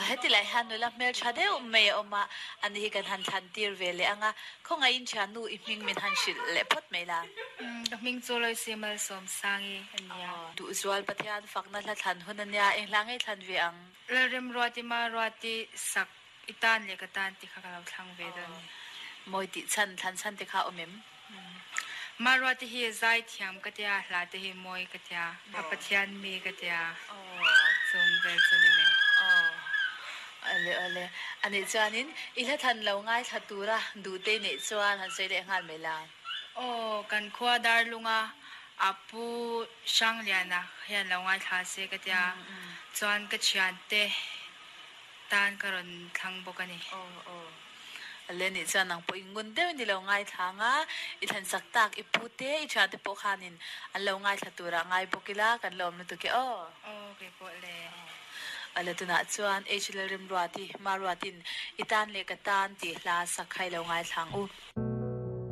Heti lai hian nula hmeltha deuh mai a awm a, ani hi kan han thlan tir ve leh ang a, khawngaihin thiannu i hming min han hrilh leh phawt mai la. Ka hming chu Loisi Malsawmsangi a nia. Duhzual Pathian fakna hla thlan hun a nia, eng hla ngei thlan ve ang? Lalremruati Maruati sak I tan leh ka tan tih kha ka lo thlang ve dawn a ni. Mawi tih chhan, thlan chhan te kha awm em? Maruati hi zai thiam ka tia, hla te hi mawi ka tia, a Pathian mi ka tia, chung vel chu ni mai. Awle awle, anih chuanin i hla thlan lo ngaithla tura duhte i neih chuan han sawi leh nghal mai la. Aw, kan khua Darlunga a Pu Hrangliana hian lo ngaithla se ka tia, chuan ka thiante tan ka rawn thlang bawk a ni. Aw aw. Ale nih chuan nang pawh i ngun deuh in i lo ngaithla ang a, i thlensak tak i pu te i thian te pawh khanin an lo ngaithla turah ngai bawk ila kan lo awm lutuk e aw. Aw kei pawh le. Ale tunah chuan H Lalrimruati, Maruatin i tan leh ka tan tih hla sak kha i lo ngaithla ang u.